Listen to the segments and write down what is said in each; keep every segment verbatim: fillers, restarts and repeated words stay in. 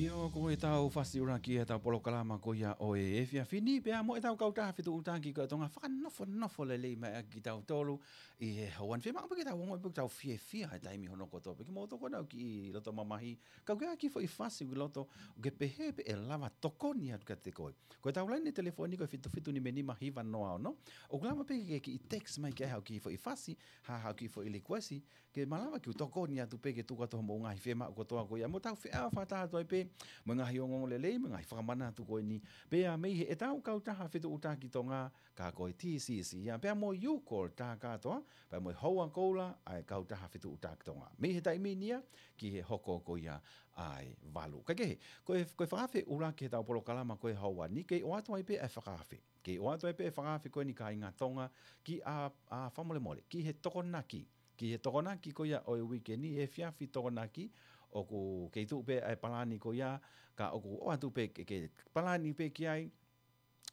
ʻIo, ko ʻetau fasi ʻuluaki ʻetau polokalama ko ia ʻo e efiafi ni, pea mo ʻetau kautaha fetuʻutaki ko e Tonga, fakanofonofo lelei mai ʻaki kitautolu ʻi he houa ni. Fiemaʻu pē ke tau ongoʻi pē ke tau fiefia he taimi hono kotoa pē, kimoutolu ko ena ʻoku kiʻi loto mamahi, ka ʻoku ʻi ai ha kiʻi foʻi fasi ʻoku ke loto, ʻoku ke pehē pē ʻe lava tokoni atu kiate koe. Ko ʻetau laine telefoni ko e fitu fitu nima nima hiva noa ono. ʻOku lava pē ke kiʻi text mai ki ai haʻo kiʻi foʻi fasi, ha, haʻo kiʻi foʻi likuesi, ke malava ke u tokoni atu pē ke tuku atu hoʻomou ngaahi fiemaʻu kotoa ko ia. Mo tau feʻao fakataha atu ai pē mo e ngaahi ongoongolelei, mo e ngaahi fakamanatu ko eni. Pea mei heʻetau kautaha fetuʻutaki Tonga, ka ko e T C C ia, pea mo e U-Call tā kātoa, pea mo e Hoa Koula ʻa e kautaha fetuʻutaki Tonga. Mei he taimi ni ia ki he hoko ko ia ʻa e valu. Kaikehe, ko e, ko e fakaafe ʻuluaki heʻetau polokalama ko e houa ni, kei ʻoatu ai pē ʻa e fakaafe. Kei ʻoatu ai pē ʻa e fakaafe ko eni kāinga Tonga, ki ʻa, ʻa fakamolemole, ki he Tokonaki. Ki he Tokonaki ko ia ʻo e uike ni, efiafi Tokonaki, ʻoku kei tuʻu pē ʻa e palani ko ia, ka ʻoku ʻoatu pē ke, ke palani pē ki ai,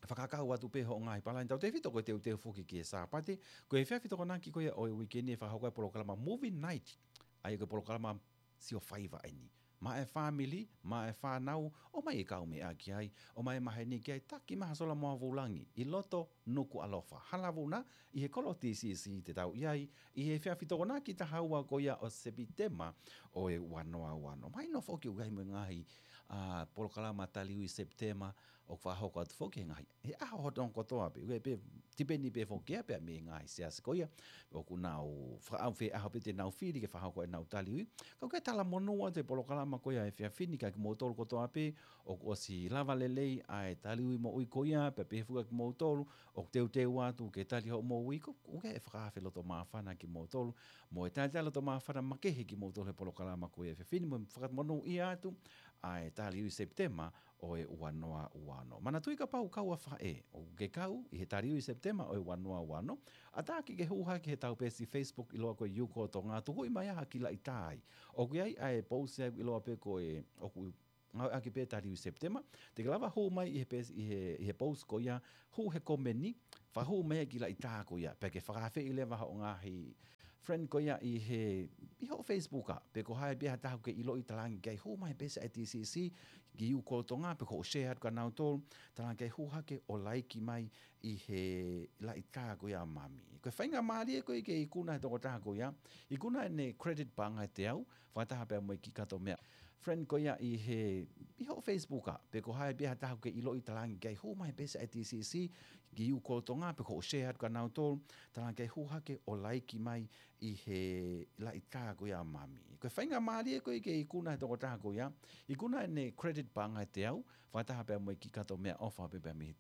fakakau atu pē hoʻo ngaahi palani. Tautefito ko e teuteu foki ki he Sāpate, ko e efiafi Tokonaki ko ia ʻo e uike ni ʻe fakahoko ai e polokalama Movie Night. ʻA ia ko e polokalama sio faiva eni. Maʻa e fāmili, maʻa e fānau, ʻomai e kaumeʻa ki ai, ʻomai e maheni ki ai, taki mai ha sola mo ha vūlangi ʻi loto Nukuʻalofa, Halavuna, ʻi he kolo T C C te tau ʻi ai, ʻi he efiafi Tokonaki taha ua ko ia ʻo Sepitema ʻo e ua noa ua ono. Mahino foki ʻoku ʻi ai mo e ngaahi, ʻa, polokalama taliui Sepitema ʻoku fakahoko atu foki he ngaahi, he ʻaho hono kotoa pē, ʻoku ʻi ai pē, tipeni pē foki ia pea mei he ngaahi siasi ko ia ʻoku nau fakaʻau fēʻaho pē te nau fili ke fakahoko ʻenau taliui. Ka ʻoku ʻi ai e talamonū atu e polokalama ko ia he efiafi ni kiate kimoutolu kotoa pē ʻoku ʻosi lava lelei ʻa e taliui moʻui ko ia, pea pehē foki kiate kimoutolu ʻoku teuteu atu ke tali hoʻo moʻui, ko, ʻoku ʻi ai e fakaafe loto māfana kimoutolu, mo e talitali loto māfana makehe kimoutolu he polokalama ko ia he efiafi ni, mo e fakamonūʻia atu ʻa e taliui Sepitema ʻo e ua noa ua ono. Manatuʻi kapau ʻoku kau ʻa faʻē, ʻoku ke kau ʻi he taliui Sepitema ʻo e ua noa ua ono, ʻatā ke ke hū hake heʻetau peesi Facebook ʻiloa ko e U-Call Tonga, tukuʻi mai ha kiʻi laʻitā ai. ʻOku ʻi ai ʻa e post ia ʻoku ʻiloa pē ko e, ʻoku ngāueʻaki pē taliui Sepitema, te ke lava hū mai ʻi he peesi, ʻi he, ʻi he post ko ia, hū he komeni, fakahū mai e kiʻi laʻitā ko ia, pea ke fakaafeʻi leva hoʻo ngaahi friend ko ia ʻi he, ʻi hoʻo Facebook ā, pe ko hai pē ha taha ʻoku ke ʻiloʻi, talaange ki ai hū mai he peesi ʻa e T C C, ki he U-Call Tonga, pe ko hoʻo share atu kia nautolu, talaange ki ai hū hake ʻo laiki mai ʻi he laʻitā ko ia ʻa Mami. Ko e faingamālie ko ē ke ikuna he tokotaha ko ia, ikuna ʻene credit paʻanga ʻe teau, fakataha pea mo e kiʻi kato meʻa. Friend ko ia ʻi he, ʻi hoʻo Facebook ā, pe ko hai pē ha taha ʻoku ke ʻiloʻi, talaange ki ai hū mai he peesi ʻa e T C C, ki he U-Call Tonga, pe ko hoʻo share atu kia nautolu, talaange ki ai hū hake ʻo laiki mai ʻi he laʻitā ko ia ʻa Mami. Ko e faingamālie ko ē ke ikuna he tokotaha ko ia, ikuna ʻene credit paʻanga ʻe teau, fakataha pea mo e kiʻi kato meʻaʻofa pē pea mei he T